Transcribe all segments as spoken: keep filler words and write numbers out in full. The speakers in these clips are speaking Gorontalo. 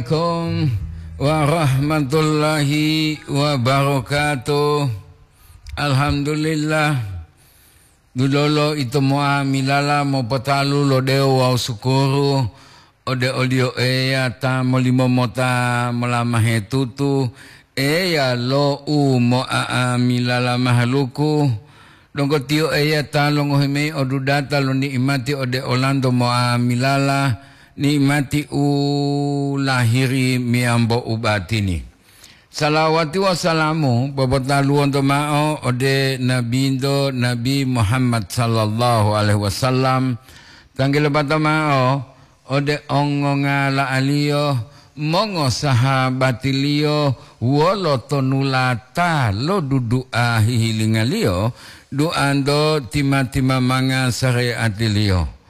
Assalamualaikum warahmatullahi wabarakatuh. Alhamdulillah, dulolo ito mo'amilala mopotalu lo dewo wawu sukuru ode oliyo Eya ta molimo mota molamahe tutu, Eya lo u mo'a'amilala mahaluku. Donggo Tiyo Eya ta longohi mayi odudata lo ni'imati ode olanto mo'amilala, ni'imati u lahiri meyambo u batini. Salawati wawu salamu popotaluwonto mao ode Nabinto, Nabi Muhammad sallallahu alaihi wasallam, tanggi lopata mao ode ongongala'aliyo, mongosahabatiliyo wolo tonulata lo dudu'a hihilingaliyo, duanto tima-timamanga sareatiliyo.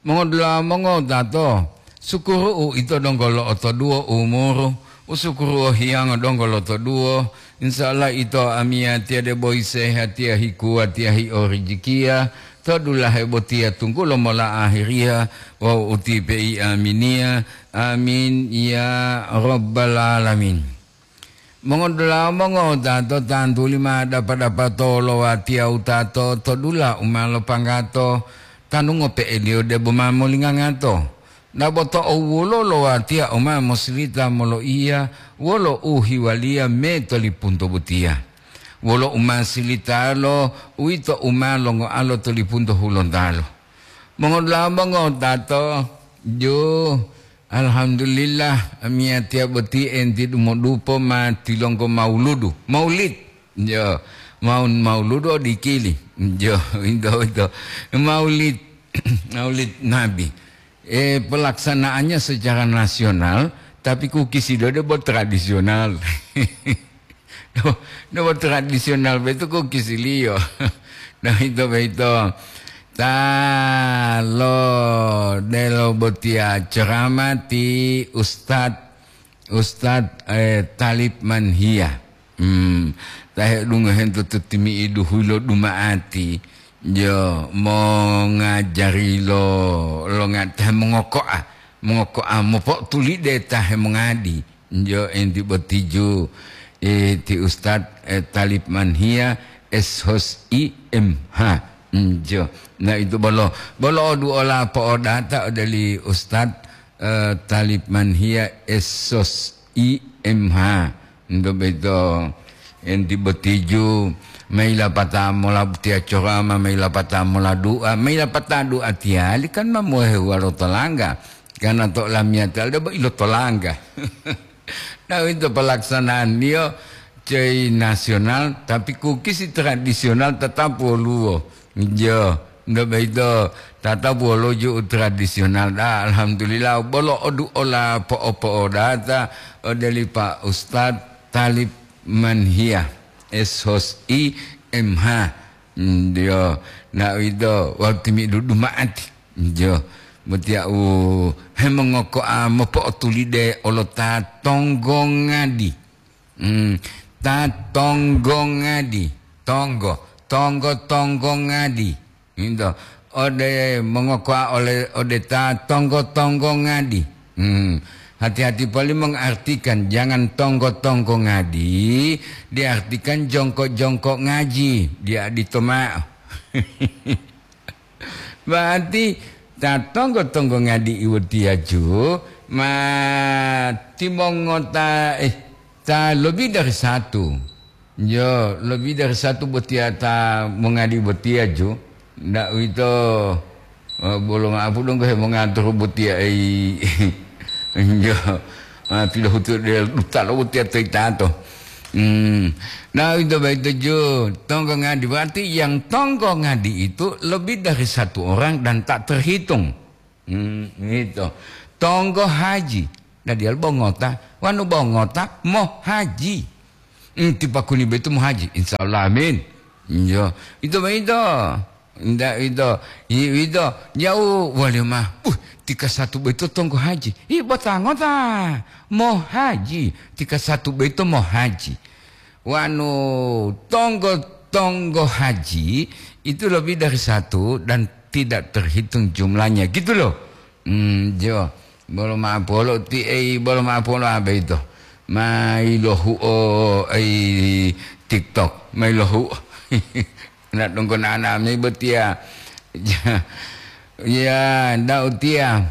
Mongodula'a mongowutato, sukuru'u ito donggo lo'otoduwo umuru, usukuru'u hiyango donggo lotoduwo, insya Allah ito amiyatiya debo hisehatiya hikuwatiya hiorijikiya, to dulahe botiya tunggulo mola ahiriya wawu utipe'i aminiya. Amin ya rabbal alamin. Mongodula'a mongowutato, tantuli ma dapa-dapato lo watiya wutato to dula u ma lopanggato, tanu ngope'eliyo debo ma molingangato. Dabo to owulo lo watiya u ma mosilita moloiya wolo u hiwaliya me to lipunto botiya. Wolo u ma silitalo, uwito u ma longoalo to lipunto hulontalo. Mongodula'a mongowutato, ju Alhamdulillah, amiyatiya boti enti dumodupo ma tilonggo mauludu. Maulid. Yo, maun mauludu odikili. Yo, ito, ito. Maulid, Maulid Nabi. Eh, pelaksanaannya secara nasional, tapi kukisido debo tradisional. No, no tradisional betu kukisiliyo. No, ito, ito. Ta lo delo botiya ceramah ti Ustad, Ustad, eh, Talib Manhia. Hmm, ta hedungohento to timi'idu hulo duma'ati. Jo, mongajari lo, lo nga-, ta hemongoko'a, mongoko'a mopo'otulide ta hemongadi. Njo enti botiju, eh, ti Ustad, eh, Talib Manhia, S Hos I M H. Njo. Nah, itu bolo. Bolo odu ola po'odata odeli Ustad, eh, Talib Manhia, S Hos I M H. Nto beto enti botiju, maila pata mola tiya corama, maila pata mola du'a, maila pata du'a tiyali kan ma mohewa lo tolangga. Karena to lamiyatiya debo ilo tolangga. Nah, itu pelaksanaanliyo coyi nasional, tapi kukisi tradisional tetap woluwo. Jo, nto boyito tetap woluwo ju tradisional. Da, alhamdulillah, bolo odu ola po'o-po'odata odeli Pak Ustad Talib Manhia, S Hos I M H. Ndio, na uwito wawu timi'idu duma'ati. Njo, botiya u hemongoko'a mopo'otulide olo ta tonggo ngadi. Hmm, ta tonggo ngadi. Tonggo, tonggo, tonggo ngadi. Nto, ode mongoko'a ole, ode ta tonggo-tonggo ngadi. Hmm, hati-hati poli mengartikan, jangan tonggo-tonggo ngadi, diartikan jongko-jongko ngaji, dia ditoma'o. Berarti ta tonggo-tonggo ngadi iwotiyaju ma timongota, eh, ta lebih dari satu. Yo, lebih dari satu botiya ta mongadi botiyaju. Ndak uwito, eh, bolo ma'apu donggo hemongaturu botiya ei. Yo, ah, pilohutu de duta lo botiya to itato. Hmm. Nah, itu baik tujuh. Tonggo ngadi. Berarti yang tonggo ngadi itu lebih dari satu orang dan tak terhitung. Hmm, gitu. Tonggo haji. Nah, dia bongota. Wanu bongota, mo haji. Hmm, tipakuni betu mo haji. Insya Allah, amin. Iya. Itu baik itu. Ndak itu. I-, itu. Jauh, wali mah. Uh, tika satu betu tonggo haji. Ih, bota ngota. Mo haji. Tika satu betu mo haji. Wanu, tonggo-tonggo haji itu lebih dari satu dan tidak terhitung jumlahnya, gitu loh. Hmm, jo. Bolo ma'apolo ti ei, bolo ma'apolo abe ito. Mai lohuo ei TikTok, mai lohuo. Na donggo nana mi botia. Ya, nda utia.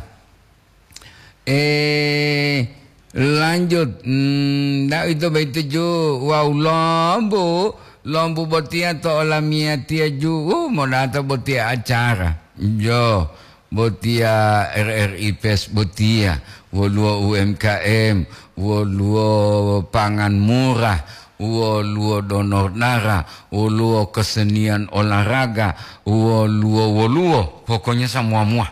Eh, lanjut. Hmm, nda ito baito ju. Wau lombu, lombu botia to olamiyatiya ju. Uh, modata botia acara. Jo. Botiya R R I Fest botiya, woluwo U M K M, woluwo pangan murah, woluwo donor darah, woluwo kesenian olahraga, woluwo, woluwo, pokoknya samuwa-muwa.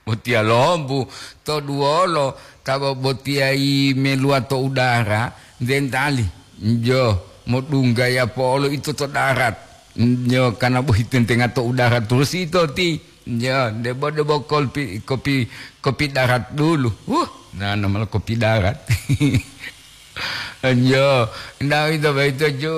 Botiya lombu, to duwolo, ta bo-, botiya yi meluwa to udara, dentali, jo, modunggaya po'olo ito to darat. Jo, karena bohi tentenga to udara terus ito ti. Jo, debo-debo kolpi-, kopi, kopi darat dulu. Huh, nana malah kopi darat. Jo, nda ito baito ju.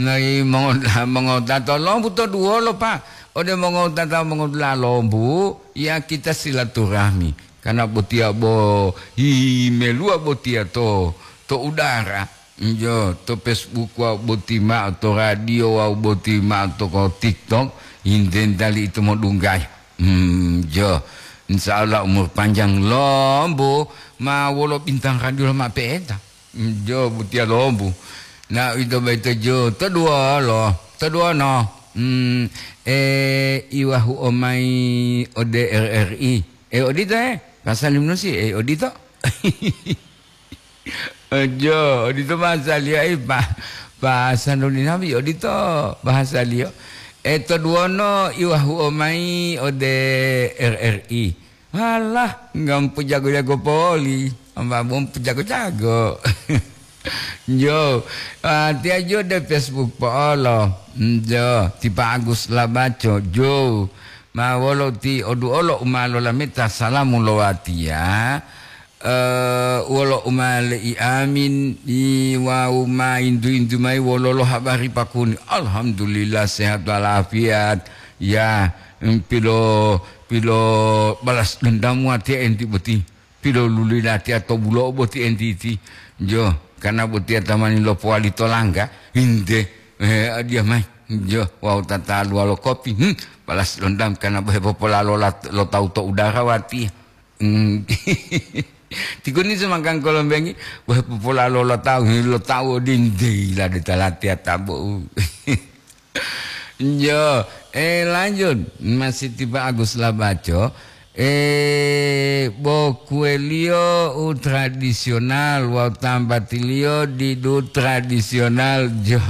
Nai mongo-, mongotato lombu to duwolo, Pak. Ode mongotata mongodula lombu, ya kita silaturahmi. Karena botiya bo himeluwa botiya to, to udara. Jo, to Facebook wawu boti ma'o, to radio wawu boti ma'o, to ko TikTok, intentali ito modunggaya. Hmm, jo. Insya Allah umur panjang lombu ma wolo bintang radio ma pe'enta. Hmm, jo, butiya lombu. Na ito baito jo, to duwolo, to duwono. Hmm, eh, iwahu omai ode R R I. Eh, odito, eh. Pasali munusi, eh, odito. Ojo, odito bahasaliyo, ai, pa-, bahasa nuli nabi, odito bahasaliyo. E, to duwono iwahuo mayi ode R R I. Halah, nggak mpu jago-jago poli, amba bo mpu jago-jago. Jo, ah, tiya jo de Facebook po'olo. Jo, ti Pa Agus Labaco, jo. Ma wolo ti oduolo u ma lolameta salamu lo watiya. Eh, wolo u ma le'i amin, i wawu ma intu-intu mayi wololo habari pakuni. Alhamdulillah, sehat walafiat. Ya, em, pilo, pilo balas dendam watiya enti boti. Pilo luli latiya to bulo'o boti enti iti. Jo, karena botiya tamani lopowali to langga, hinte, eh, adiya mayi. Jo, wawu tataluwa lo kopi, hmm, balas dendam karena bohe popolalo lat-, lo tawu to udara watiya. Hmm. Tikuni sumangkang kolombengi, bohe popolalo lo tawu, lo tawu odinte yilade ta latiya tabo'u. Jo, eh, lanjut. Masih ti Pa Agus Labaco. Eh, bokuweliyo u tradisional wawu tambatiliyo didu tradisional, jo.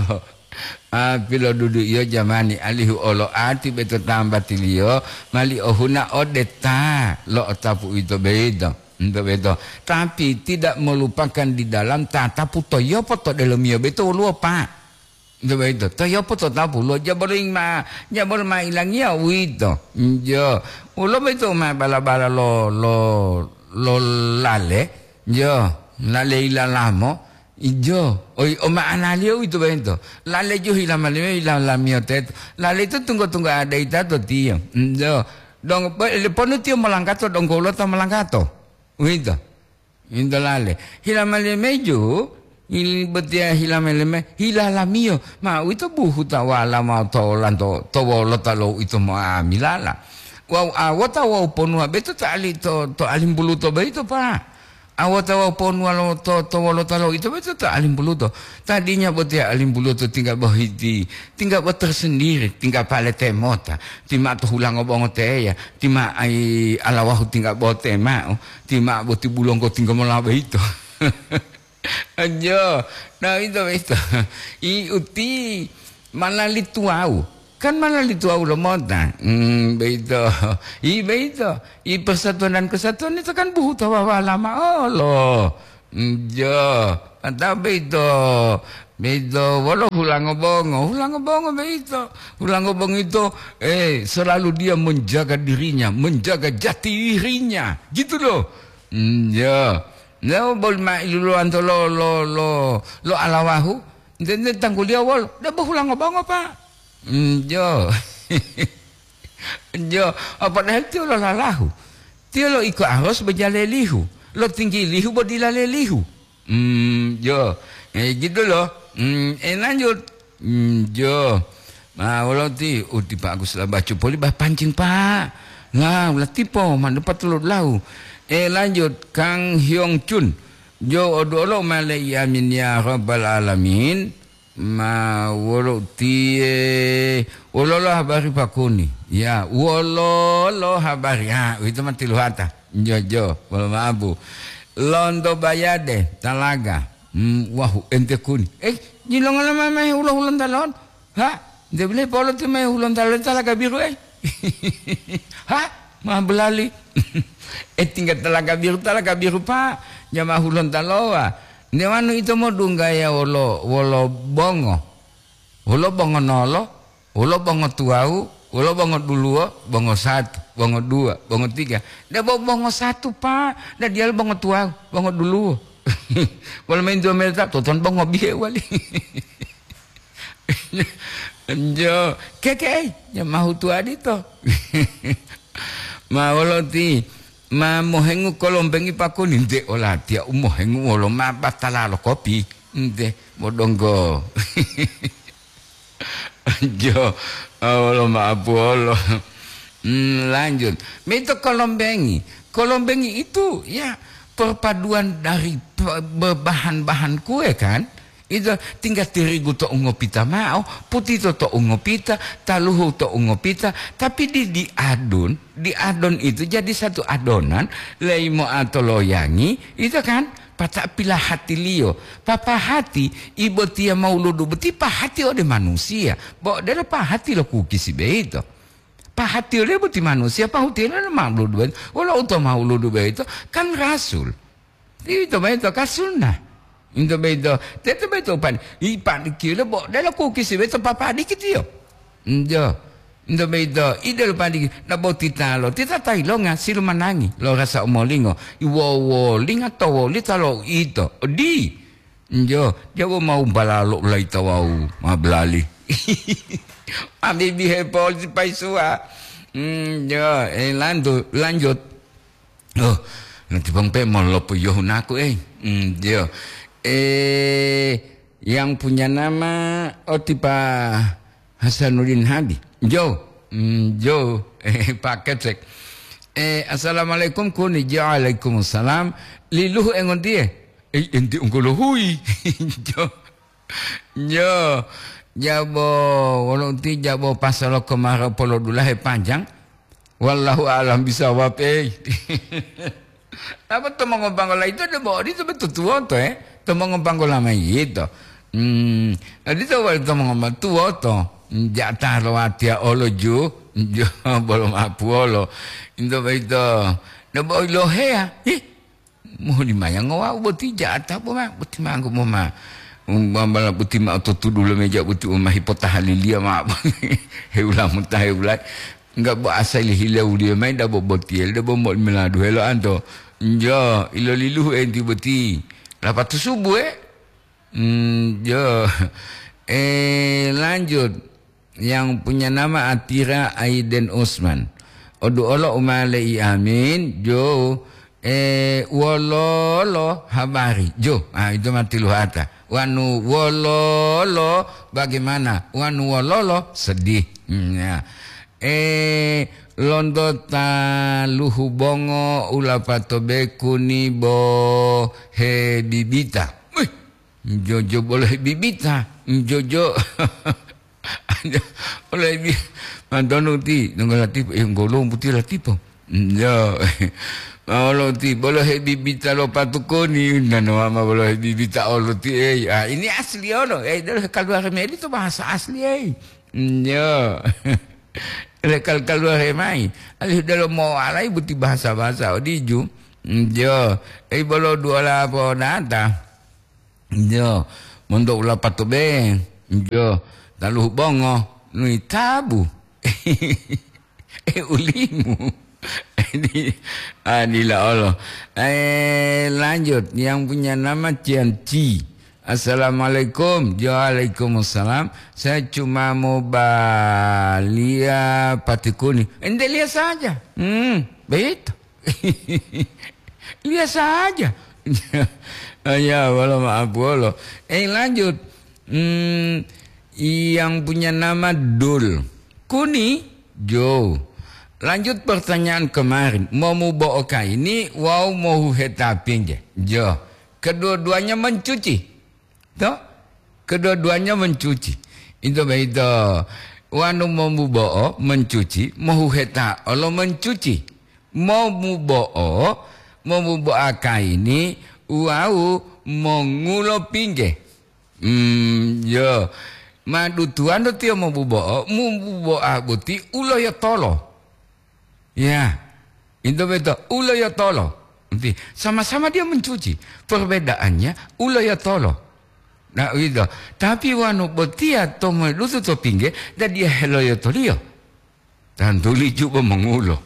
Ah, pilodudu'iyo jamani alihu olo ati beto tambatiliyo mali ohuna ode ta lo'otapu uwito boyito, nto boyito. Tapi tidak melupakan di dalam tatapu toyopo to delomiyo boyito woluwo, Pak. Nto boyito, toyopo to tapu lo jabolo ma, jabolo ma ilangiya uwito. Njo, wolo boyito ma bala-bala lo, lo, lo lale, njo, lale ilalamo, Ijo, oi, o ma'analiyo uwito boyito. Lale jo hila maliyo, hila lamiyo teto. Lale ito tungga-tungga ada ita to tiyo. Ijo, dong, bo-, leponu tiyo molanggato, donggo woluwo ta molanggato. Uwito. Into lale. Hila maliyo meju, il-, botiya hila maliyo me-, hila lamiyo. Ma uwito buhuta wala mao to lanto, to wolota lo uwito mo'amilala. Wawu awota wawu ponuwa beto to ali to, to alimbuluto boyito, Pa. Awota wawu ponuwa lo to, to wolota lo ito boyito to alimbuluto. Tadinya botiya alimbuluto tingga bohiti, tingga bo tersendiri, tingga pale temota, ti ma'o to hulango bongo teya, ti ma'o ai alawahu tingga bote ma'o, ti ma'o boti bulonggo tingga mola boyito. Anjo, na ito boyito. I uti malali tuwawu. Kan malali tuwawu lomota. Hmm, boyito. I boyito. I persatuan dan kesatuan ito kan buhuta wawala ma'olo. Njo. Mantap boyito. Boyito wolo hulango bongo. Hulango bongo boyito. Hulango bongo ito, eh, selalu dia menjaga dirinya, menjaga jati dirinya. Gitu loh. Njo. Njo boli ma iluluwanto lo, lo, lo, lo alawahu. Nte, nte tangguliyo wolo. Debo hulango bongo, Pa. Njo. Jo, a, padahal tiyo lolalahu. Tiyo lo iko arus bo jale lihu, lo tinggi lihu bo dila le lihu. Hmm, jo. Eh, gitu loh. Hmm, eh, lanjut. Hmm, jo. Ma, wolo ti, uti Pak Agus la bacu poli bah pancing, Pak. Lah, ulah tipo, ma dapat lo lau. Eh, lanjut, Kang Hyong Chun. Jo, odu olo male amin ya rabbal alamin. Ma wolo tiye, wololo habari pakuni? Ya, wololo habari? Ha, uwito ma tiluhata. Jojo, wolo maabu. Lonto bayade, talaga. Hmm, wahu, ente kuni. Eh, jilongola mamahe hulo-hulontalo? Ha? Nte bile polo ti mahe hulontalo talaga biru, eh? Ha? Ma belali. Eh, tinggal talaga biru, talaga biru, Pak. Jama hulontalowa. Nde wanu ito modunggaya wolo, wolo bongo. Wolo bongo nolo, wolo bongo tuwawu, wolo bongo duluwo, bongo satu, bongo dua, bongo tiga. Nde bo bongo satu, Pak. Nde diyalu bongo tuwawu, bongo duluwo. Wolo main dua meter, toton bongo bihe wali. Jo, keke, eh, ya mahu tuwa dito. Ma wolo ti, ma mohengu kolombengi pakuni, nte olatiya u mohengu wolo ma batala lo kopi. Nte, modonggo. Jo, ah, wolo ma apuwolo. Hmm, lanjut. Mito kolombengi. Kolombengi itu, ya, perpaduan dari pe-, be-, bahan-bahan kue, kan? Itu tinggal tirigu to ungopita mao, putito to ungopita, taluhu to ungopita, tapi di, di adun, di adon itu jadi satu adonan, leimo atoloyangi, itu kan, pata pilahatiliyo, papahati, ibotiya mauludu boti pahati ode manusiya, bo delo pahati lo kukisi beito. Pahati ole boti manusiya, pahutiyole lo mauludu beito, wolo uto mauludu beito, kan rasul. Ito boyito ka sunnah. Ito boyito, teto boyito upadi. Ipadikilo bo delo kukisi boyito papadikitiyo. Njo. Ito boyito, idelo padiki, nabotitalo, tita tailonga silumanangi, lo rasa umolingo, iwowolinga to wolita lo ito. Di. Njo, jawo mau balalo ulaita wau, ma belali. Abibi hepol si paisuwa. Hmm, jo, eh, lantu-, lanjut. Oh, nanti bang pe molopo yohunaku, eh. Hmm, jo. Eh, yang punya nama, oh, tipa Hasanuddin Hadi. Jo. Hmm, jo. Eh, Pak Kecek. Eh, assalamualaikum, kuni. Jo, waalaikumsalam. Liluhu engontiye? Eh, enti unggolo hui. Jo. Jo. Jabo, wolo uti jabo pasalo kemaro polodulahe panjang. Wallahu a'lam bisawab, eh. Apa to mongobanggola itu de bo odito betutuwoto, eh? To mongobanggola ma yito. Hmm, odito wali to mongobanggola tuwoto. Jata lo watiya olo ju, jo bolo mapuwolo. Into boyito, de bo iloheya. Ih, mohuli maya ngowa boti jata bo ma, boti manggu mo ma. Umbambala boti ma ototudu lo meja boti uma hipotahaliliya ma. Heula mutahewulai. Enggak bo asali hilawuliyo mayi dabo botiyelo dabo mo meladuhelo anto. Njo, iloliluhu enti boti. Lapatu subu, eh? Njo. Eh, lanjut. Yang punya nama Atira Aiden Usman. Odu olo umale i amin, jo, eh, wololo habari. Jo, ah, itu mati luhata. Wanu wololo bagaimana? Wanu wololo sedih. Hmm, ya. Eh, lonto taluhu bongo ulapato bekuni bo hebibita. Wih, jojo bolo hebibita. Jojo. Bolo hebi-, mantonu ti, nongo latipo, eh, ngolong puti latipo. Yo. Olo ti, bolo hebibita lo patukoni, nano ama bolo hebibita olo ti, eh. Ah, ini asli olo. Eh, dolo kaluar meli itu bahasa asli, eh. Yo. Lekal kaluar mai. Alih delo mowalai buti bahasa-bahasa odiju. Jo, ei bolo duola po data. Jo, monto ula patobe. Jo, taluhu bongo. Nui tabu. Eh, ulimu. Ini, ah, dila Allah. Eh, lanjut. Yang punya nama Cianci. Assalamualaikum. Waalaikumsalam. Saya cuma mau balia pati kuning. Ente lihat saja. Hmm, begitu. Biasa aja. Ya, wolo maaf wolo. Eh, lanjut. Hmm, yang punya nama Dul. Kuni, Jo. Lanjut pertanyaan kemarin. Momubo'o kaini wawu mohuheta pingge. Jo. Kedua-duanya mencuci. To? Kedua-duanya mencuci. Itu begitu. Wanu momubo'o mencuci, mohuheta olo mencuci. Momubo'o, momubo'a kaini, wawu mongulo pingge. Hmm, yo. Madutuwando tiyo mobubo'o, mububo'a boti uloyotolo. Ya, itu betul, uloyotolo. Nanti sama-sama dia mencuci. Perbedaannya uloyotolo. Nah, itu. Tapi wanu botiya to medutu to pingge, dan dia heloyotoliyo. Tantu liju bo mongulo.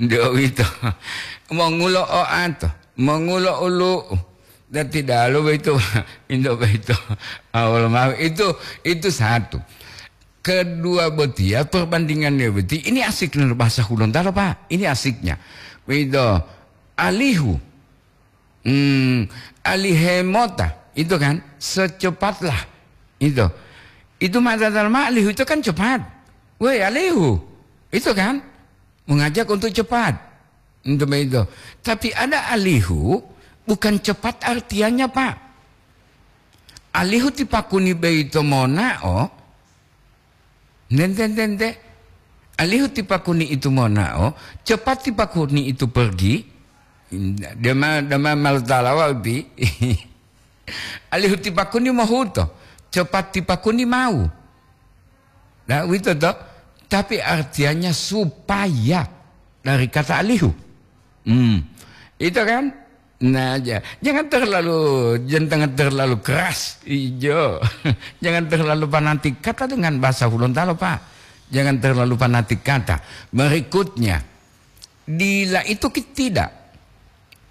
Nde uwito. Mongulo oato, mongulo ulu'u. Dan tidak lo begitu, indo begitu. Awal mau itu, itu satu. Kedua botiya perbandingannya boti, ini asik nih bahasa Hulontalo, Pak. Ini asiknya. Begitu. Alihu. Hmm, alihemota, itu kan, secepatlah. Itu. Itu mata dalma alihu itu kan cepat. Woi, alihu. Itu kan, mengajak untuk cepat. Itu begitu. Tapi ada alihu, bukan cepat artiannya, Pak. Alihu tipakuni beito monao, nente, nente. Alihu tipakuni itu monao, cepat tipakuni itu pergi. Dema, dema maltalawa uti. Alihu tipakuni mohuto, cepat tipakuni mau. Nah, uwito to. Tapi artiannya supaya dari kata alihu. Hmm. Itu kan? Nah, ja-, jangan terlalu, jangan terlalu keras. Ijo. Jangan terlalu fanatik. Kata dengan bahasa Hulontalo, Pak. Jangan terlalu fanatik kata. Berikutnya, dila itu ki-, tidak.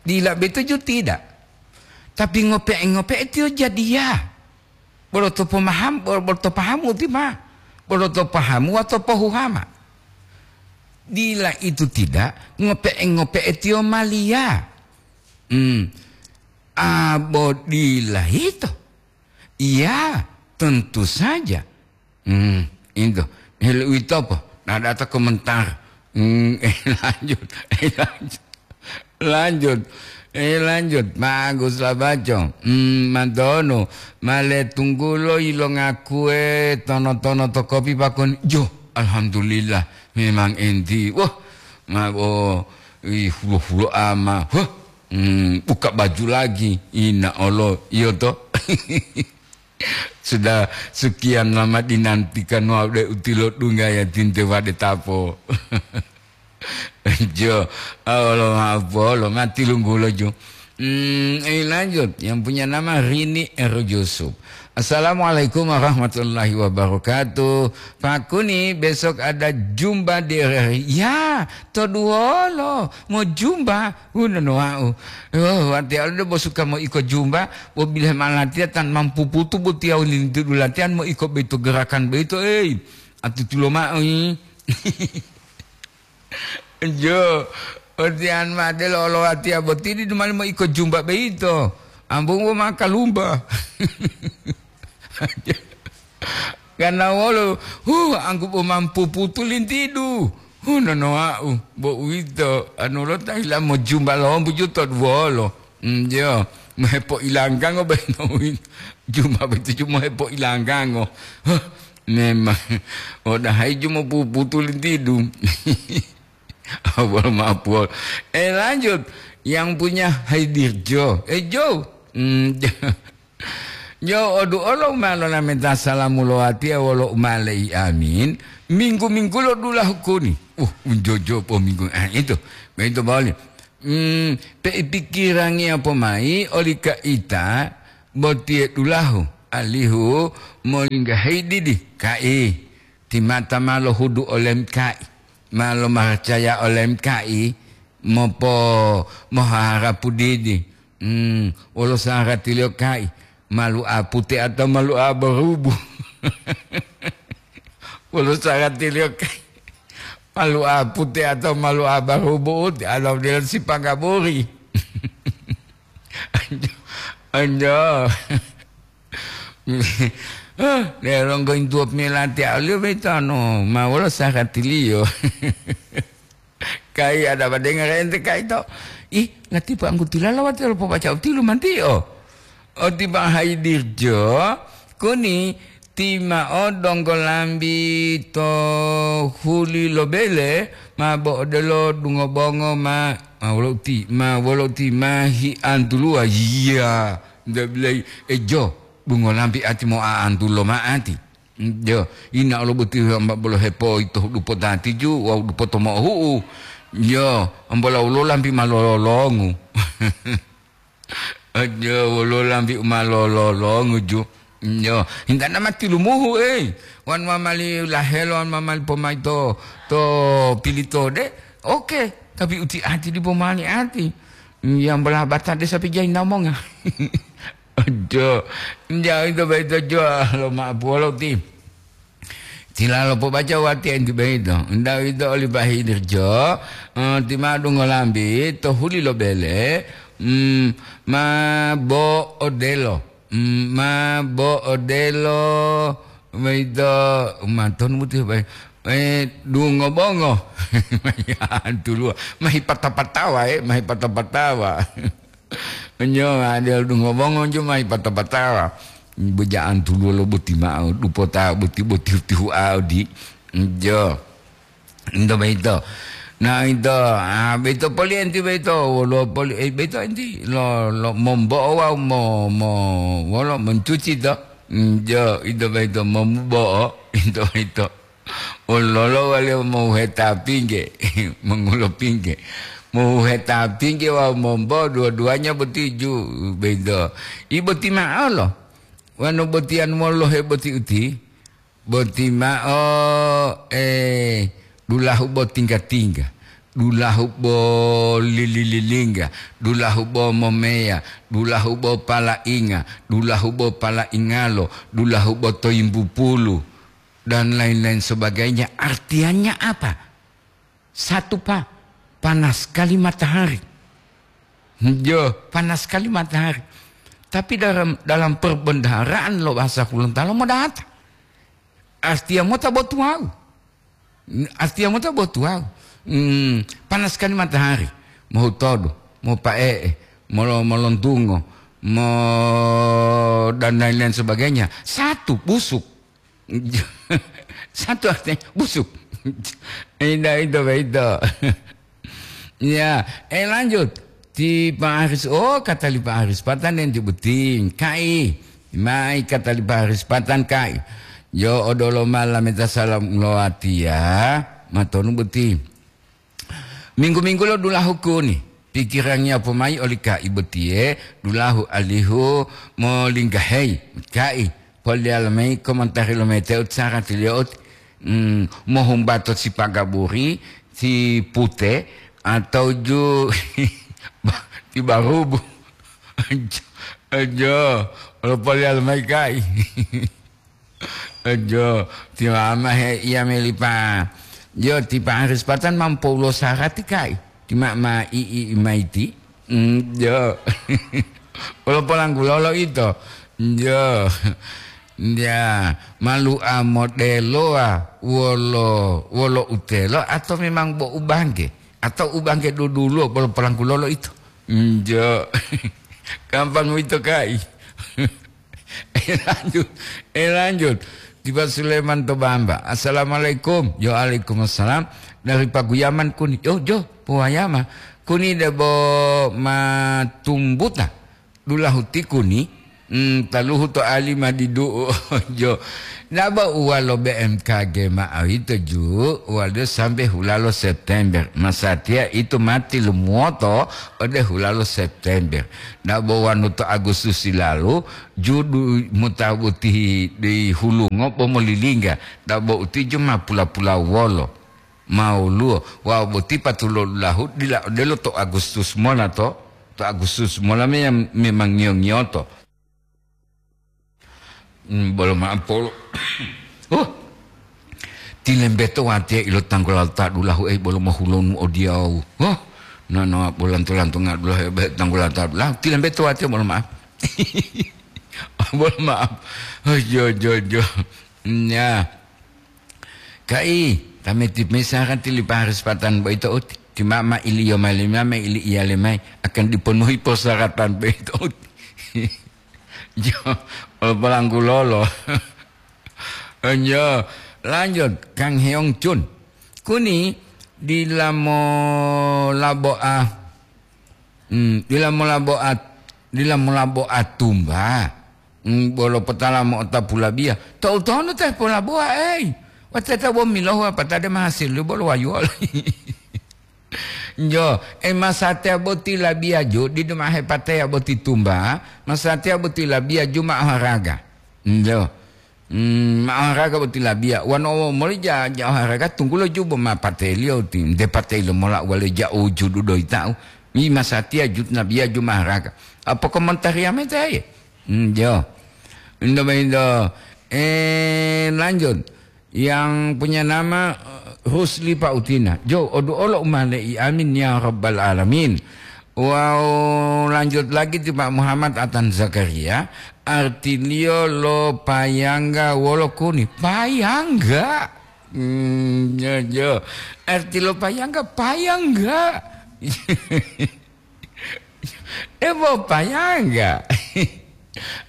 Dila betuju tidak. Tapi ngope'e-ngope'e tiyo jadiya. Bolo to pomaham-, bolo, bolo to pahamu ti ma. Bolo to pahamu atau pohuhama. Dila itu tidak, ngope'e-ngope'e tiyo maliya. Hmm. Abo dila ito. Iya, tentu saja. Hmm, itu. Hil uwito po? Nah, data komentar. Hmm, eh, lanjut. Eh, lanjut. Lanjut. Eh, lanjut. Bagus lah, baco. Hmm, mantonu. Male tunggulo ilo ngakue tono-tono to kopi pakon. Jo, alhamdulillah. Memang enti. Wah, ma-, oh, ih, hulo-hulo ama. Wah, hmm, buka baju lagi. Ina olo. Iyo to. Sudah sekian lama dinantikan wau de utilo dunggaya tinte wade tapo. Jo, Allah maaf, Allah mati lunggulo jo. Hmm, eh, lanjut. Yang punya nama Rini R Yusuf. Assalamualaikum warahmatullahi wabarakatuh. Pak Kuni, besok ada jumpa di R R I. Ya, to duwolo, mau jumpa. Unono wau. Oh, wati alo bo suka mo iko jumba, bo bilahe ma latiya tan mampu putu bo tiyawu lintidu latiyan mo iko boyito gerakan boyito, ei, atutulo mao, i. Jo, otiyan ma de lo, lo watiya boti didu mali mo iko jumba boyito. Ambung bo ma kalumba. Karena wolo, huh, angku bo mampu putu lintidu. Huh, nonowa'u, bo uwito, anu lo ta hila mo jumba lombu ju to duwolo. Mm, jo, mo hepo'ilanggango bento uwito. Jumba boyito ju mo hepo'ilanggango. Huh, memang, odahayi ju mo puputu lintidu. Awal mapol. Eh, lanjut. Yang punya Haidir Jo. Eh, Jo. Mm, Jo. Yo, odu olo ma lolameta salamu lo watiya wolo umalei amin, minggu-minggu lo dulahu kuni. Uh, unjojo po minggu, ah, itu. Begitu bawali. Hmm, pe ipikirangiya pomai oli kaita botiye dulahu, alihu molinggahi didi kai. Timata ma lohudu olem kai, ma lomaracaya olem kai, mopo-, moharapu didi. Hmm, wolo saratiliyo kai, malu apute atau malu abarubu? Wolo saratiliyo kai, Malu apute atau malu abarubu uti, atau dila sipagaburi. Anjo, anjo. Ah, de longgo intuo pemilati auliyo beito anu, ma wolo saratiliyo. Kai ada badenga rente kai to. Ih, lati pa anggutilala wati lo pobaca utilu mantiyo. Oti Bang Haidirjo, kuni timao donggo lambi to huli lo bele, ma bo odelo dungo bongo ma, ma wolo uti, ma wolo uti ma hiantuluwa. Iya, nda bilai ejo, dungo lambi ati mo aantulo ma ati. Jo, ina olo boti hamba bolo hepoito dupota tiju wawu dupoto mo'ohu'u. Jo, ambola wolo lambi ma lololongu. Aja wolo lambi u ma lololongu ju. Yo, hintana ma tilumuhu, ei. Wan mamali lahelo, wan mamali pomai to, to pilitode. Oke, tapi uti ati dipo mali ati. Yang belah bata desa pijai namonga. Ojo, jauh itu baito jo, lo ma puolo ti. Tilalo pobaca wati enti boyito. Uwito oli Bahidir jo, eh, ti ma'o dungo lambi to huli lo bele, mm, ma bo odelo. Mm, ma bo odelo, boyito, ma tonu muti, eh, dungo bongo. Tuluwa, ma hipata-patawa, eh, ma hipata-patawa. Nyo, adelo dungo bongo njo ma hipata-patawa. Boja'an tuluwo lo boti ma'o, dupota boti, boti tihu-tihu'a odi. Njo. Ento boyito. Na ito, ah, boyito poli enti boyito, woluwo poli, eh, boyito enti lo, lo mombo'o wawu mo, mo, wolo moncuci to. Njo, ito boyito mombo'o, ito boyito. Wololo waliyo mohuheta pingge, mongulo pingge. Mohuheta pingge wawu mombo dua-duanya boti ju bedo. I boti ma'olo. Wanu botiyan molohe boti uti, boti ma'o, eh, dulahu bo tingga-tingga, dulahu bo lili-lilingga, dulahu bo momeya, dulahu bo pala'inga, dulahu bo pala'ingalo, dulahu bo toyimbupulu. Dan lain-lain sebagainya. Artinya apa? Satu, Pak, panas sekali matahari. Jo, panas sekali matahari. Tapi dalam, dalam perbendaharaan lo bahasa Gorontalo modata. Artinya mota botuwau. Artinya mota botuwau. Hmm, panas sekali matahari. Mau todo, mau pae'e, mau lo-, mau lontungo, mau dan lain-lain sebagainya. Satu, busuk. Satu artinya busuk. Indah itu, itu. Ya, eh, lanjut. Ti Pak Aris, oh, kata li Pak Aris Patan dan ti Buting. Kai, mai kata li Pak Aris Patan, kai. Yo, odolo mala meta salam ngulowatiya. Matonu Buting. Minggu-minggu lo dulahu kuni, pikirangiya pomai oli kai botiye dulahu alihu molinggaheyi. Kai, poliyala mayi komentari lo mete uti saratiliyo uti, mm, mohumbato sipagaburi, si pute, atau ju ti barubu. Ajo, ajo, lo poliyala mayi kai. Jo, ti mama he iya melipa. Jo, ti Pak Aris Patan mampu ulo sarati kai. Ti mama i, i, i maiti. Mm, jo. Ulo polanggulo lo ito. Jo. Ya, malu a modelo a wolo, wolo utelo atau memang bo ubangge? Atau ubangge duduluwo bolo polanggulo lo ito? Mm, jo. Gampang uwito kai. Eh, lanjut. Eh, lanjut. Tiba Sulaiman to Bamba. "Assalamualaikum." "Yo, waalaikumsalam." "Dari Paguyaman kuni." "Yo, jo, Pawayama." "Kuni debo matumbuta. Dulahu ti kuni. Hmm, taluhu to ali madidu'u." Jo. Dabo uwa lo B M K G ma'o yito ju, uwaliyo sambe hulalo September. Masatiya ito mati lumuwoto ode hulalo September. Dabo wonu to Agustus lalu, judu mota boti di hulungo bo molilingga, dabo uti ju ma pula-pula wolo, ma woluwo, wawu boti patulo dulahu dila odelo to Agustus mola to, to Agustus mola me-, memang ngiyo-ngiyoto. Hmm, bolo ma'o polo. Oh. Tilembeto watiya ilo tanggulanto dulahu ei bolo mohulonu odiyawu. Huh, nanawa bolanto-lantonga dulahu ebe tanggulanto dulahu. Tilembeto watiya bolo maaf. Bolo maaf. Oh, jo, jo, jo. Nya. Kai, tameti mesa kan tili paharis patan boyito uti. Ti mama iliyo mali mama ili iyale mai akan dipenuhi persyaratan boyito uti. Jo, olo polanggulolo. Enjo, lanjut, Kang Heong Chun. Kuni dila molabo'a, hmm, dila molabo'a, dila molabo'a tumba. Hmm, bolo potala mo'otapu labiya. To'u tonu te polabo'a, ei. Wateta bo milohu apatade mahasil bolo wayuwolo. Jo, e masatiya boti labiya ju, didu ma'o hepateya boti tumba, masatiya boti labiya ju ma'o haraga. Jo. Hmm, ma'o haraga boti labiya. Wano moli ja, ja haraga tunggulo ju bo ma pateliyo ti, nte pateliyo mola wale ja ujudu doyi ta'u. Mi masatiya ju nabiya ju ma'o haraga. Apa komentariya mete aye? Hmm, jo. Indo, indo. Eh, lanjut. Yang punya nama, eh, Rusli Pautina. Jo, odu'olo umale'i. Amin ya rabbal alamin. Wawu lanjut lagi ti Pak Muhammad Atan Zakaria, artiliyo lo payangga wolo kuni? Payangga. Hmm, jo, jo. Arti lo payangga, payangga. Ebo payangga.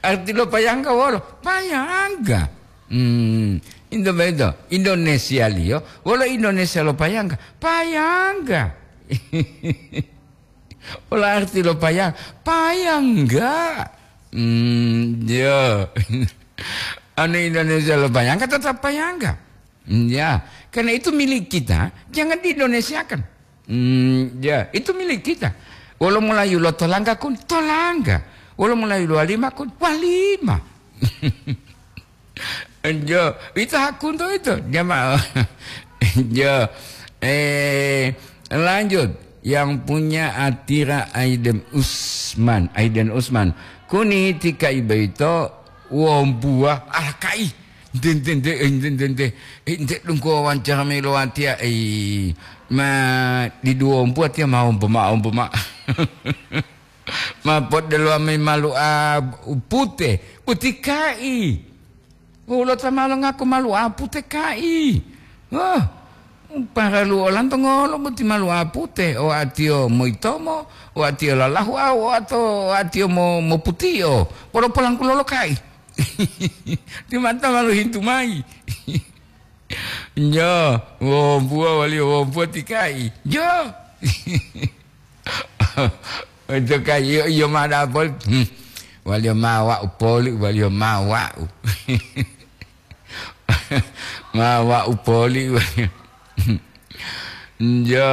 Arti lo payangga wolo? Payangga. Hmm, Indo bedo. Indonesia liyo, wolo Indonesia lo payangga? Payangga. Wolo arti lo payang? Payangga. Hmm, ya. Anu Indonesia lo payangga tetap payangga. Hmm, ya, karena itu milik kita, jangan di-Indonesiakan. Hmm, ya, itu milik kita. Wolo mulayu lo tolangga kun, tolangga. Wolo mulayu lo walima kun, walima. Jo, itu hak untuk itu, jamaah. Jo, eh, lanjut. Yang punya atira Aiden Usman, Aiden Usman. Kuni tika ibaito wombuwa alakai. Nte, nte, nte, eh, nte, nte, nte. Eh, nte donggo wawancara mayi lo watiya, eh, ma didu wombu watiya ma wombu ma, wombu ma. Ma poddelo mayi malu'a pute, boti kai. Wolo ta ma longaku malu'a pute kai. Wah, paralu olanto ngolo boti malu'a pute, o atiyo moyitomo, o atiyo lalahu, o ato, o atiyo mo-, moputiyo. Polo polangku lolo kai. Timata ma lohintu mayi. Jo, wombuwa waliyo wombuwa ti kai. Jo. Itu kai, iyo, iyo ma dapol. Hmm. Waliyo ma wa'u poli, waliyo ma wa'u. Ma wa'u poli, waliyo. Jo.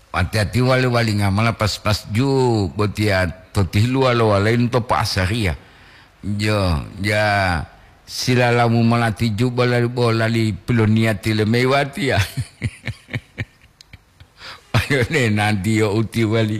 Wati-wati wali-walinga mola pas-pas ju botiya to tiluwa lo walainu to po'asariya. Jo, ja silalamu mola ti ju bolali, bolali piloniya tile mei watiya. Ayo ne nanti yo uti wali.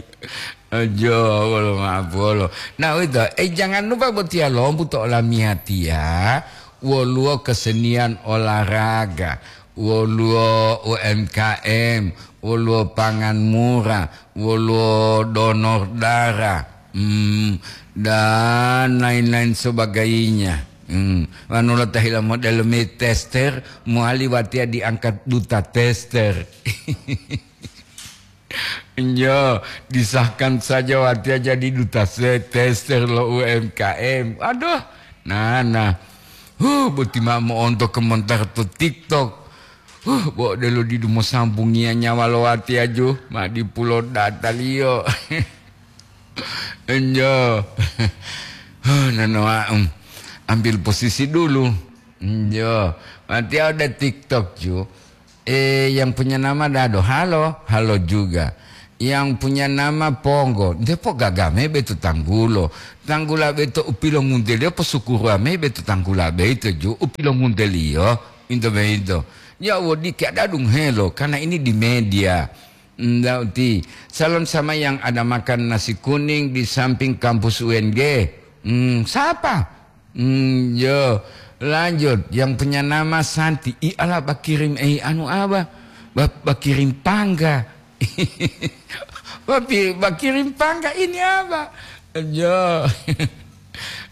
Jo, wolo ma'apolo. Nah, uwito, eh, jangan lupa botiya lombu to olamiyatiya, woluwo kesenian olahraga, woluwo U M K M, woluwo pangan murah, woluwo donor darah, hmm, dan lain-lain sebagainya. Hmm, wanu lo tahila model me tester, mowali watiya diangkat duta tester. Nyo, disahkan saja watiya jadi duta se-, tester lo U M K M. Aduh, nana. Huh, boti ma mo'onto komentar to TikTok. Huh, bo delo didu mosambungiya nyawa lo watiya ju, ma dipulo dataliyo. Nyo. Huh, nanoa, um, ambil posisi dulu. Nyo, watiya ode TikTok ju. Eh, yang punya nama Dado, halo, halo juga. Yang punya nama Ponggo, nte pogaga mayi beto tanggulo. Tanggula beto u pilongunteliyo, posukuruwa mayi beto tanggula boyito ju, u pilongunteliyo, into boyito. Ya, wodiki adadunghelo, karena ini di media. Nda uti, salam sama yang ada makan nasi kuning di samping kampus U N G. Hmm, siapa? Hmm, yo. Lanjut, yang punya nama Santi. Ih, ala bakirim, eh, anu apa? Ba-, bakirim pangga. Bapi-, bakirim pangga ini apa? Jo.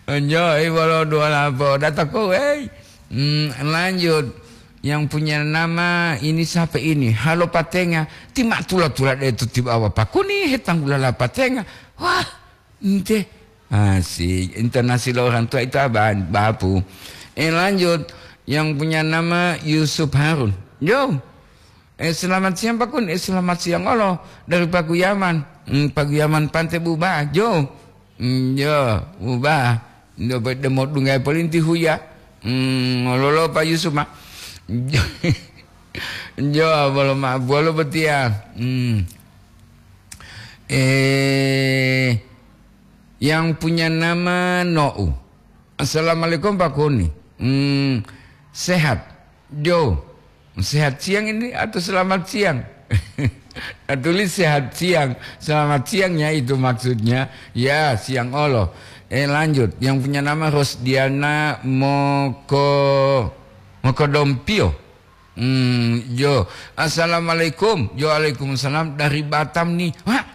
Jo, eh, bolo dua lapo. Data ko, eh. Hmm, lanjut. Yang punya nama ini siapa ini? Halo Patenga. Ti ma tula-tula de tu tiba apa pakuni hetanggulala Patenga. Wah, ente. Asik. Intonasi lo orang tua itu apa, Bapu? Eh, lanjut. Yang punya nama Yusuf Harun. Yo. Eh, selamat siang, Pakun. Eh, selamat siang olo. Dari Paguyaman. Hmm, Paguyaman Pante Buba. Jo. Hmm, jo. Buba. Ndo pe demo dungai polinti huya. Hmm, lolo Pak Yusuf, ma. Jo. Jo, bolo ma, bolo betia. Hmm. Eh, yang punya nama No'u. Assalamualaikum, Pak Kuni. Hmm, sehat. Jo, sehat siang ini atau selamat siang? Nah, tulis sehat siang. Selamat siangnya itu maksudnya. Ya, siang olo. Eh, lanjut. Yang punya nama Rosdiana Moko, Mokodompio. Hmm, jo. Assalamualaikum. Jo, waalaikumsalam. Dari Batam nih. Wah,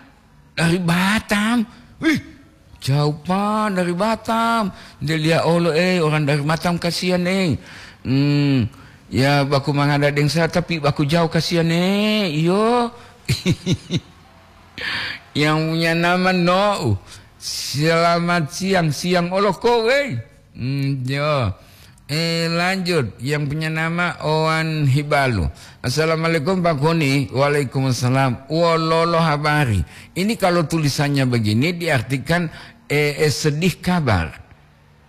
dari Batam. Wih, jauh, Pak, dari Batam. Dia lihat, "Oh, lo, eh, orang dari Batam, kasihan, eh." Hmm, ya, baku mangada deng saya, tapi baku jauh, kasihan, eh. Iyo. Yang punya nama No. Selamat siang, siang olo kowe. Hmm, yo. Eh, lanjut. Yang punya nama Owan Hibalu. Assalamualaikum, Pak Kuni. Waalaikumsalam. Wololo habari. Ini kalau tulisannya begini diartikan, eh, eh, sedih kabar.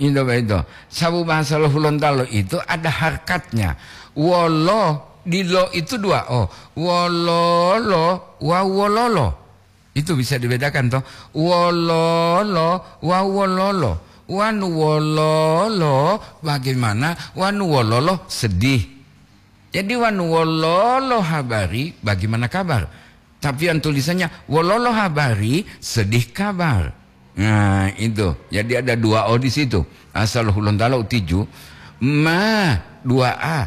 Itu begitu. Sabu bahasa lo Hulontalo itu ada harkatnya. Wolo, di lo itu dua o. Wololo, wawu wololo. Itu bisa dibedakan, toh. Wololo wawu wololo. Wanu wololo bagaimana? Wanu wololo sedih. Jadi wanu wololo habari, bagaimana kabar? Tapi yang tulisannya wololo habari, sedih kabar. Nah, itu. Jadi ada dua o di situ. Asal Hulontalo tiju. Ma, dua a.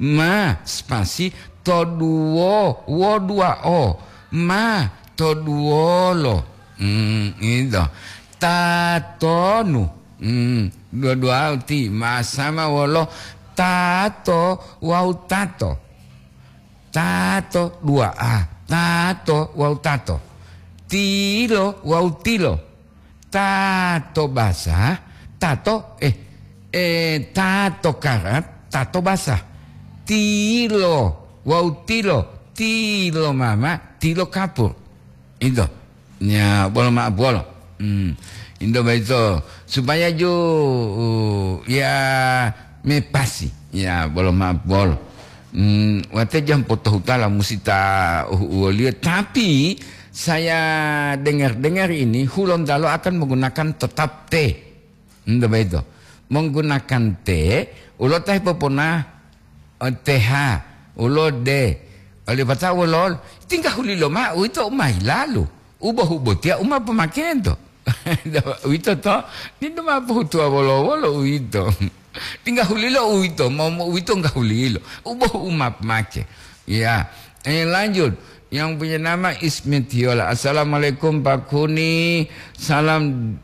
Ma, spasi, to duwo, wo dua o. Ma, to duwolo. Hmm, itu. Tatonu. Hmm, dua-dua ti ma sama wolo tato wawu tato. Tato, dua a. Tato wawu tato. Tilo wawu tilo. Tato basah, tato, eh, eh, tato karat, tato basah. Tilo wawu tilo, tilo mama, tilo kapur. Itu. Ya, bolo maaf, bolo. Hmm. Indo baito supaya ju, uh, ya, mepasi. Ya, bolo maaf, bolo. Hmm, wate jam potohutala musi ta, uh, uwoliyo. Tapi saya dengar-dengar ini Hulontalo akan menggunakan tetap T. Indo baito. Menggunakan T, ulo tahi popona, eh, T H, ulo D. Oli pata ulo, tingga hulilo ma'u ito umai lalu. Ubohu botiya uma pemakento. Uwito to, didu ma pohutuwa wolo-wolo uwito. Tingga hulilo uwito, mo, mo uwito enggak hulilo. Uboh uma pemake. Ya. Eh, lanjut. Yang punya nama Ismet Yola. Assalamualaikum, Pak Kuni. Salam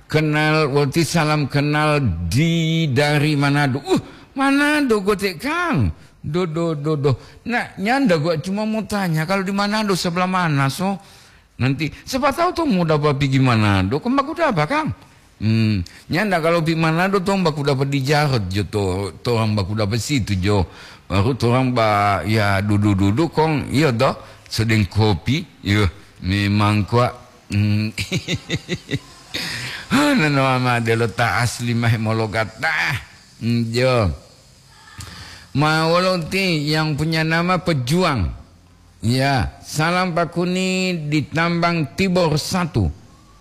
kenal, wati salam kenal di, dari Manado. Uh, Manado gotek, Kang. Do, do, do, do. Nah, nyanda gua cuma mau tanya, kalau di Manado sebelah mana, so? Nanti, siapa tahu toh mau dapat pergi Manado, kan baku dapat, Kang? Hmm, nyanda kalau pi Manado toh baku dapat di Jarot jo, to, torang baku dapat situ jo. Baru torang ba, ya, dudu-dudu kong, iyo toh, sedeng kopi, iyo, memang kuat. Hmm. Hana no ama delo ta asli mah mologat. Nah, hmm, jo. Ma wolo ti yang punya nama Pejuang. Ya, salam Pak Kuni di Tambang Tibor satu.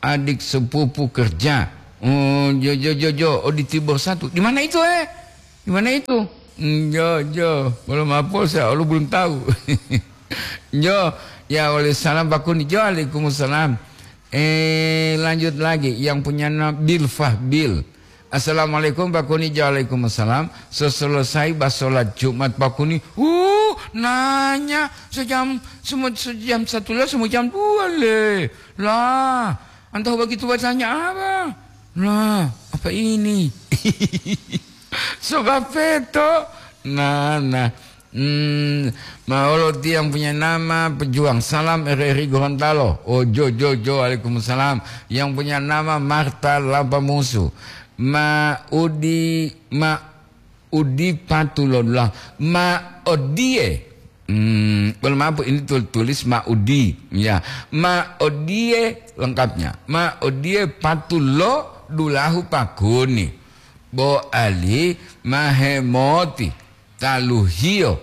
Adik sepupu kerja. Oh, jo, jo, jo, jo. Oh, di Tibor satu. Di mana itu, eh? Di mana itu? Hmm, jo, jo. Belum apa, saya lu belum tahu. Jo, ya, oleh salam Pak Kuni. Jo, waalaikumsalam. Eh, lanjut lagi. Yang punya nama Bil Fahbil. Assalamualaikum, Pak Kuni. Waalaikumsalam. Seselesai ba sholat Jumat, Pak Kuni, uh, nanya, sejam, semu-, sejam satu le, semu jam dua le. Lah, entah begitu bertanya apa. Lah, apa ini? Sebab peto. Nah, nah. Hmm, ma olo ti yang punya nama Pejuang. Salam R R I Gorontalo. Oh, jo, jo, jo, waalaikumsalam. Yang punya nama Marta Lampamusu. Ma udi, ma udi patulola. Ma odie. Hmm, bolo maaf, ini tul-, tulis ma udi. Ya, ma odie lengkapnya. Ma odie patulo dulahu Pak Kuni. Bo ali ma hemoti. Taluhiyo,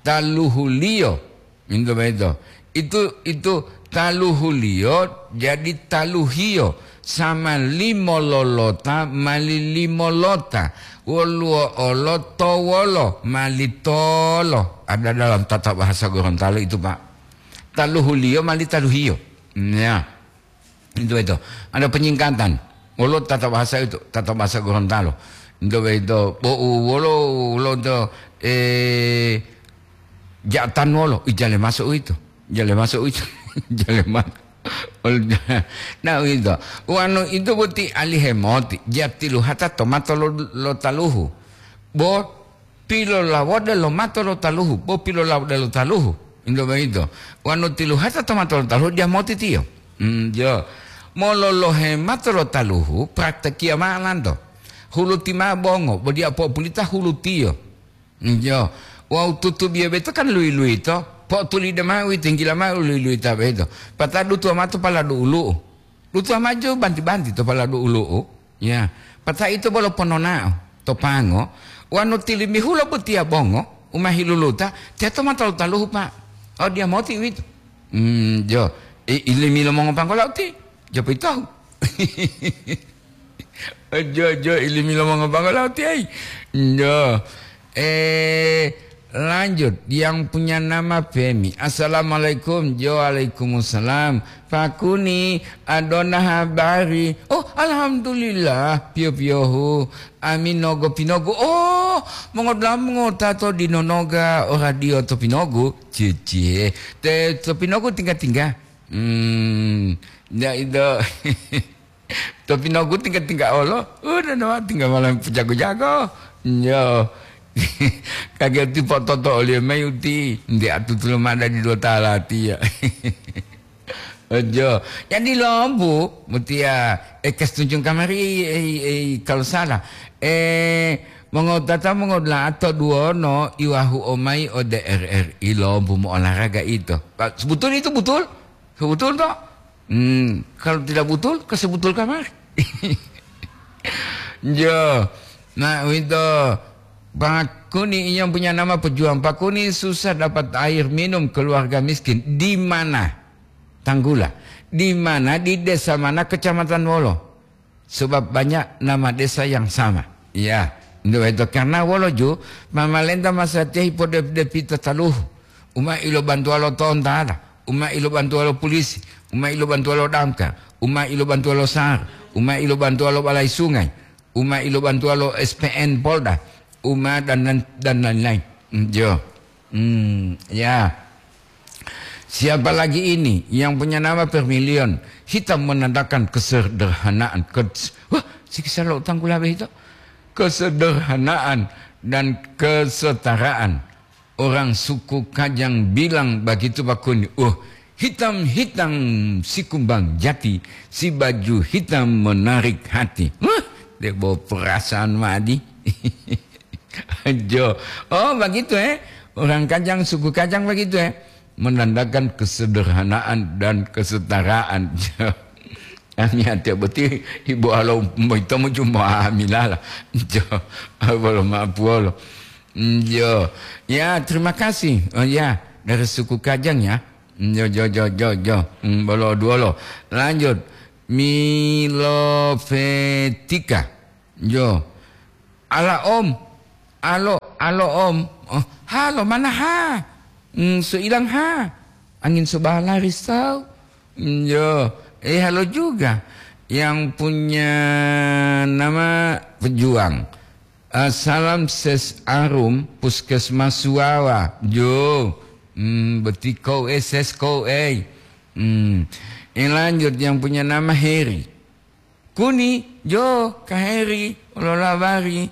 taluhuliyo. Minto boyito. Itu, itu taluhuliyo jadi taluhiyo. Sama limo lolota mali limo lota. Woluwo olo towolo mali tolo. Ada dalam tata bahasa Gorontalo itu, Pak. Taluhuliyo mali taluhiyo. Ya. Itu, itu. Ada penyingkatan. Wolo tata bahasa itu, tata bahasa Gorontalo. Itu, itu. Bo, wolo, wolo itu, eh, jatan wolo. Ih, jale masuk itu. Jale masuk itu. Jale masuk. Nah, itu. Wanu itu boti alihemoti. Jatiluhata tomato lo, lo taluhu. Bo, pilolawode lo mato lo taluhu, bo pilolawode lo taluhu. Indo boyito. Wanu tiluhata to mato lo taluhu, dia moti tiyo. Hmm, jo. Mololohe mato lo taluhu, praktekiya ma'o lanto. Huluti ma'o bongo, bo dia po'opulita hulutiyo. Hmm, jo. Wawu tutubiyo boyito kan luyi-luyito, po'otulide ma'o uwito, yinggila ma'o luyi-luyita boyito. Patadu tuwa mato paladu ulu'u. Dutuwa maju banti-banti to paladu ulu'u, ya. Pata ito bolo pononao to pango, wanu tilimihulo botiya bongo, u ma hiluluta, teto ma talu-taluhu, Pak. Oh, dia moti uwito. Hmm, jo. I, ilimi lo mongopanggolo uti, jo pitohu. Ojo, ojo, ilimi lo mongopanggolo uti, ai. Jo. Eh, lanjut, yang punya nama Femi. Assalamualaikum. Jo, waalaikumsalam. Pakuni, adona habari. Oh, alhamdulillah, piyo-piyohu. Ami nogo pinogu. Oh, mongodulamu ngota to dinonoga o radio to pinogu. Cicie. Te to pinogu tingga-tingga. Hmm, ya itu. To pinogu tingga-tingga olo, udah nawa tingga malam pejago-jago. Nyo. Kageti pototo oli mai uti, nde atutulo mada di dua talati ya. Ojo. Jadi lombu, mutia, eh, kes tunjung kamari, eh, eh, kalau salah. Eh, mongotata mongodula'a to duono iwahu omai ode R R I lombu mo olahraga ito. Pak, betul itu, betul? Betul toh? Hmm, kalau tidak betul, ke sebetul kamar. Jo. Nah, itu Pak Kuni yang punya nama pejuang. Pak Kuni susah dapat air minum, keluarga miskin. Di mana? Tanggula. Di mana? Di desa mana, kecamatan wolo? Sebab banyak nama desa yang sama. Ya, ndu itu karena wolo ju, mamalenta masatiya hipodep-depi tataluhu. Uma ilo bantuwa lo tontala, uma ilo bantuwa lo polisi, uma ilo bantuwa lo damkar, uma ilo bantuwa lo sar, uma ilo bantuwa lo balai sungai, uma ilo bantuwa lo S P N Polda, uma dan, dan, dan lain-lain. Jo. Hmm, ya. Siapa lagi ini yang punya nama Vermilion? Hitam menandakan kesederhanaan. Kes-, wah, sikisa lo tanggula itu. Kesederhanaan dan kesetaraan. Orang suku Kajang bilang begitu, Pak Kuni. Oh, hitam-hitam si kumbang jati, si baju hitam menarik hati. Wah, debo perasaan madi. Jo. Oh, begitu, eh? Orang Kajang, suku Kajang begitu, eh? Menandakan kesederhanaan dan kesetaraan. Ami ate boti ibu alo moito mo cuma amilala. Jo. Bolo mapuolo. Jo. Ya, terima kasih. Oh ya, dari suku Kajang ya. Jo, jo, jo, jo, jo. Hmm, bolo duolo. Lanjut. Milovetika. Jo. Ala om, alo, alo om. Oh, halo, mana ha? Hmm, so ilang ha. Angin so balari sau. Hmm, jo, eh, halo juga. yang punya nama pejuang. Ah, salam ses arum puskesmas Suwawa. Jo, hmm, beti kou eh, ses kou eh. Hmm. Yang lanjut yang punya nama Heri. Kuni, jo, Kak Heri, olo labari.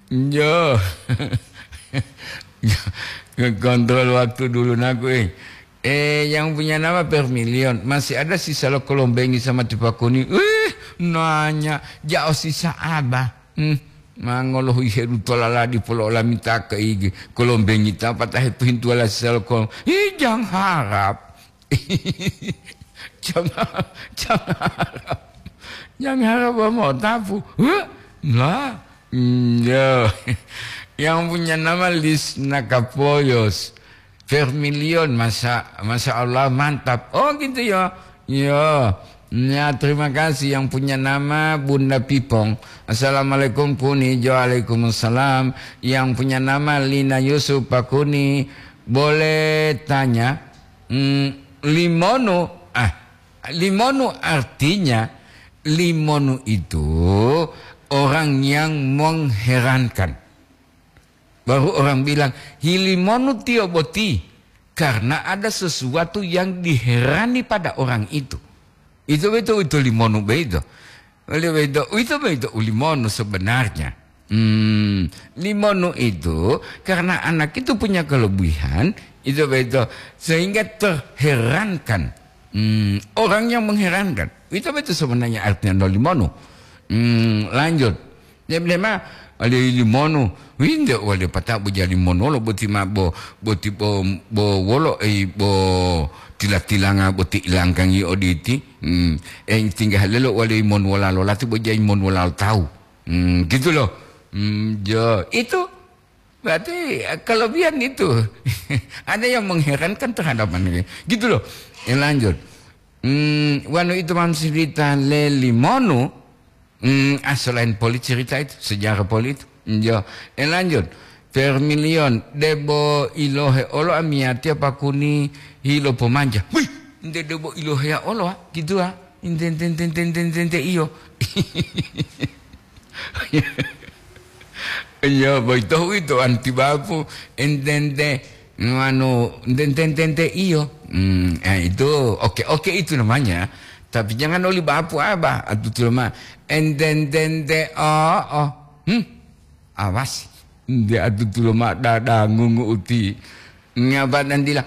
Jo. Kontrol waktu dulu naku eh. Eh, yang punya nama Permilion, masih ada sisa lo kolombengi sama tipakuni. Wih, nanya, jao sisa aba. Hmm, mangolohu ihedu tolala di polo olamita ke igi. Kolombengi ta patah itu hintuala sisa lo kolom. Ih, jangan harap. Jangan, jangan harap. Jangan harap mau tapu. Huh? Lah. Hmm, ya. Yang punya nama Lis Nakapoyos. Vermilion, masa, masa Allah mantap. Oh gitu ya. Ya. Ya, terima kasih yang punya nama Bunda Pipong. Assalamualaikum Kuni. Waalaikumsalam. Yang punya nama Lina Yusuf Pakuni. Boleh tanya, hmm, limonu, ah, limonu artinya, limonu itu orang yang mengherankan. Baru orang bilang, "Hilimonu tiyo boti," karena ada sesuatu yang diherani pada orang itu. Itu betul, itu limonu beito. Oleh beito, itu beito ulimonu sebenarnya. Hmm, limonu itu karena anak itu punya kelebihan, itu beito, sehingga terherankan. Hmm, orang yang mengherankan. Itu betul sebenarnya artinya no limonu. Hmm, lanjut. Dia bilang, "Ma, ada limonu." Winde wale pata bo jadi monolo boti ma bo, boti bo, bo wolo, eh, bo tila-tilanga boti ilangkangi oditi. Hmm. Eh, tinggal lelo wale mon wala lolati bo jadi mon wala tahu. Hmm, gitu loh. Hmm, jo, itu berarti, eh, kelebihan itu. Ada yang mengherankan terhadap manusia. Gitu loh. Eh, lanjut. Hmm, wanu itu mam cerita le limonu. Hmm, ah, selain poli cerita itu, sejarah poli itu. Jo, eh, lanjut. Vermilion, debo ilohe olo amiyatiya pakuni hilo pomanja. Wih, nte debo ilohe ya olo, ah, gitu, ah. Nte, nte, nte, nte, nte, nte, nte, iyo. Iya, boyito uwito anti bapu, entente, anu, entente, entente, iyo. Hmm, eh, itu oke, oke itu namanya. Tapi jangan oli bapu abah, atutulo ma, entente, ente, oh, oh. Hmm, awas. Nde atutulo ma dada ngungu uti. Ngapa dan dila?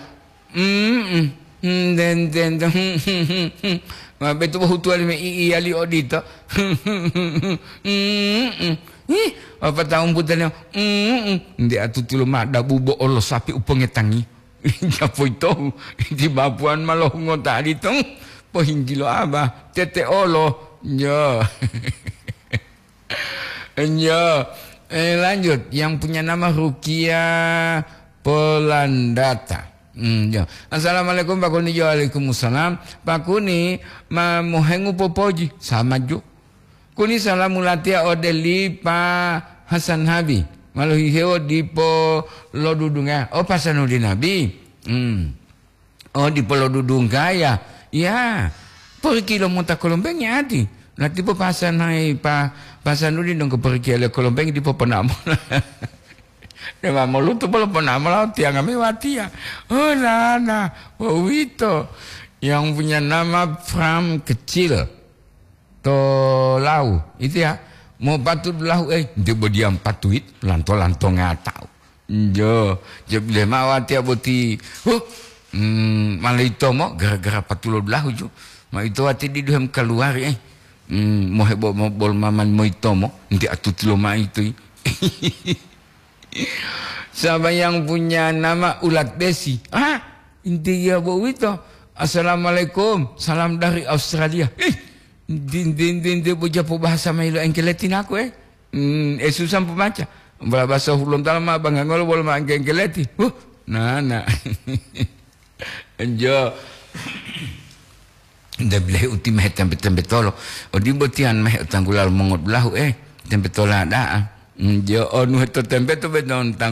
Mm-mm. Hmm, den, den, den, hmm, hmm, hmm, hmm. Ma betu bohutuwa lime i-, iyali odito. Mm-mm. Ih, apa tahu putane? Mm-mm. Nde atutulo ma dabu bo olo sapi upongetangi. Japo ito, di bapuan malohungo tadi to. Pohinggilo aba, tete olo. Yo. Yo. Eh, lanjut, yang punya nama Rukia Polandata. Hmm, yo. Assalamualaikum, Pak Kuni. Yo, waalaikumsalam. Pak Kuni, ma mohengu popoji. Sama ju. Kuni salamu latiya ode li Pa Hasan Habi. Malohihewo dipo lodudunga. Oh, pasanu di Nabi. Hmm. Oh, dipo lodudunggaya. Ya, porikilo mota kolombengi ati. Latipo pasanai pa, pasanuli donggo porikilo kolombengi dipo ponamo. Dema molutu polo ponamo lao tianga me watiya. Oh, nana, wawito. Yang punya nama Pram kecil. To lau, itu ya. Mau patu dulahu, eh, dia bodiam patuit, lanto-lanto ngatau. Jo, je bile mawatiya boti. Huh, hmm, malaitomo gara-gara patulo dulahu ju. Ma ito wati didu hem kaluari, eh. Hmm, mohebo mo bol maman moitomo, nti atutulo ma itu. Siapa yang punya nama ulat besi? Ah, inti ya bo wito. Assalamualaikum, salam dari Australia. Ih, din, din, din, din, bo japo bahasa mailo engkeleti naku, eh. Hmm, eh, susah pemaca. Bala bahasa hulontala ma bangga ngolo bolo ma engke-, engkeleti. Huh, nana. Enjo. Nde bilahi uti mehe tempe-tempe tolo. Odi botian mehe utanggula lo mongodulahu, eh. Tempe tola da'a. Enjo, onu heto tempe to beton tanggu